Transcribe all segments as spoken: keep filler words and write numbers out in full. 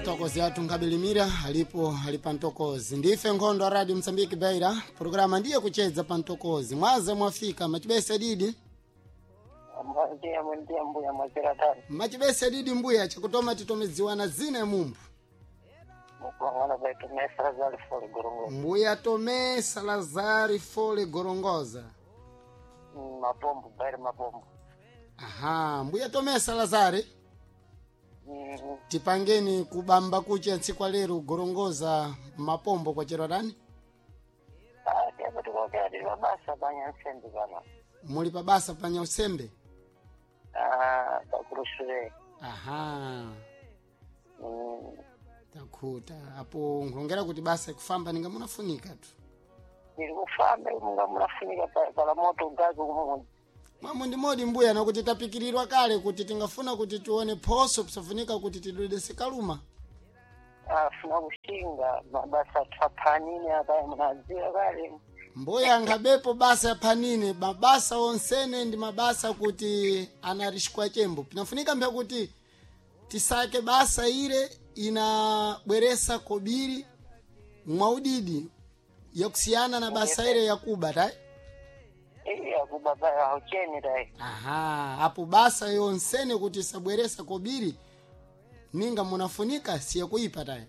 Mtokozi athu nkabilimira alipo ali pa mtokozi. Ndife nkhondo a Radio Msambiki Beira, programa ndiye kuchedza pa mtokozi. Mwaze mwafika machibese didi. Ndiye ndiye mbuya mwachera tani. Machibese didi mbuya chakutoma titomedziwana zina ya mumbu. Mukungana baitu mesra zali fole gorongo. Mbuya Tomé Salazar Fole Gorongoza. Mapombo bairi mapombo. Aha, mbuya Tomé Salazar, Mm, tipangeni kubamba kucha ntsiku lero Gorongoza mapombo kwa chero dani? Ah, tiapo tikokera tili pabasa panya nsembe pano. Muli pabasa panya usembe? Ah, pakulusule. Aha. Mm, Takhuta apo nkulongera kuti basa ikufamba ninga munafunika tu. tili kufamba munga munafunika pa- pala moto gazi kumwe. Mwamwe ndi modi mbuya nakuti tapikirirwa kale kuti tingafuna kuti tione phoso pisafunika kuti tidwedese kaluma. Ah, funa kushinga mabasa twaphanini apa munadziwa kale. Mbuya nkhabepo basa ya phanini mabasa onsene ndi mabasa kuti anarishikwa chembo pinafunika mpya kuti tisake basa ile inabweresa kobiri mwaudidi yakusiyana na basa ile yakuba tai. Iya kuba paya haucheni dai. Aha, apo basa yonsene kuti isabweresa kobiri ninga munafunika siye kuipa tayi.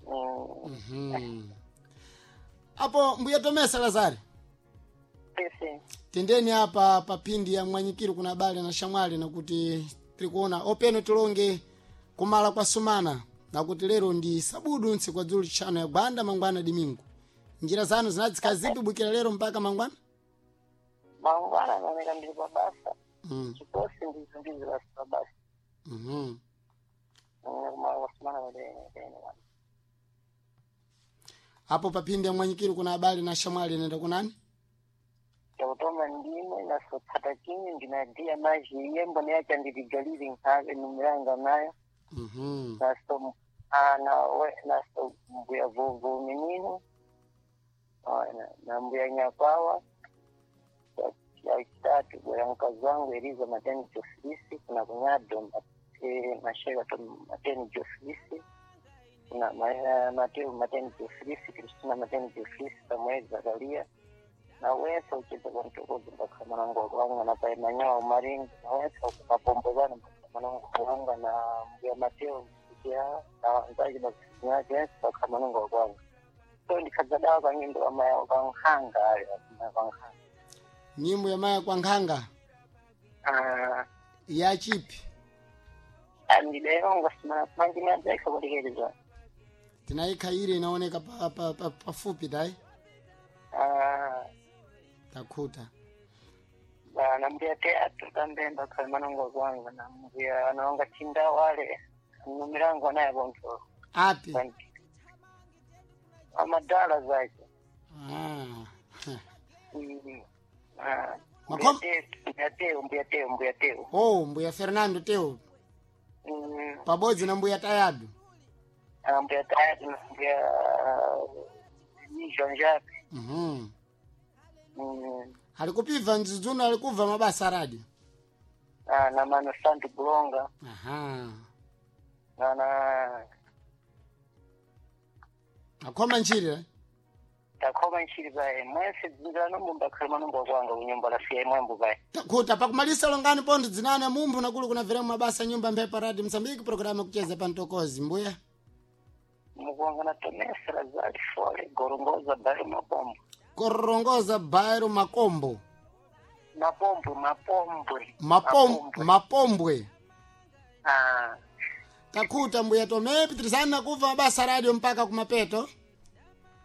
Mm, Mhm. Apo mbuya Tomé Salazar, pese. tendeni apa papindi ya mwanyikiro kuna bale na shamwali nakuti tiri kuona openo tilonge kumala kwa sumana nakuti lero ndi sabudu ntsiku kwa dzulu tchano ya gwanda mangwana dimingu. Njira zanu zinadzikhala zipi bukira lero mpaka mangwana? Mangwana naoneka ndili pabasa. Mm. Chikosi ndizo ndizo basi pabasa. Mhm. Kumala kwasumana padene. Apo papindi ya mwanyikiro kuna abale na shamwali nenda kunani? Chakutoma ndime nasotsata chinyi ndinadiya maji yembo neyacha ndiligalili nkhale numilanga nayo. Mhm. Naso ana we naso mbuya vuvu minino na, na mbuya nyakwawa ya chitatu bwera mkazi wangu Eliza Mateni Jofilisi kuna kunyado eh, masheka to Mateni Jofilisi kuna ma- eh, Mateo Mateni Jofilisi Kristina Mateni Jofilisi Samuel Zakaria na wense ucheza kwa mtokozi mpaka mwanangu wakwanga na pae manyawa umaringi na wense ukumapombozana mpaka mwanangu wakwanga na mbuya Mateo msikia na wanzaji bakisinyake wense mpaka mwanangu wakwanga so ndikhadza dawa kwa nyimbo ya maya kwankhanga ayo kwankhanga. Nyimbo ya maya kwa nkhanga Ah, ya chipi? andidayonga simana manjinadzaika kulekeleza. Tinaikha ile inaoneka pa, pa, pa, pafupi dai. Ah, Takhuta. ba- na mbuya teatro kambemba khali manongo kwanga na mbuya anonga chinda wale numilango naye bonto. Api? Amadala zake. Ah. Mm. Ah, Makom- mbuya Teo, mbuya teo mbuya teo mbuya teo. Oh, mbuya Fernando Teo Mm, pabodzi na mbuya Tayadu. ah, mbuya teatro na mbuya nijonjapi. Mhm. Mm. Alikupibva ndzidzuno alikubva mabasa a radio. Ah, na mano santo bulonga. Aha. Na na Akhoma ntchire. Eh? takhoma ntchiri paye mwense dzinzano mumba khali manongo kwanga kunyumba lasiya imwembo paye. Takhuta pakumalisa longani pontho dzinani amumphu nakulu kunabvera mabasa nyumba mphepo radio Msambiki programa kucheza pa mtokozi mbuya. Mukuanga na tomesera zali fole gorongoza bali mapombo. Korongoza bairo makombo. Mapombwe mapombwe. Mapom, mapombwe. Ah, Takhuta mbuya Tomé pitirizani nakuva mabasa a radio mpaka kumapeto.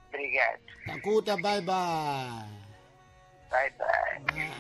Obrigado. Takhuta bye bye. Bye bye.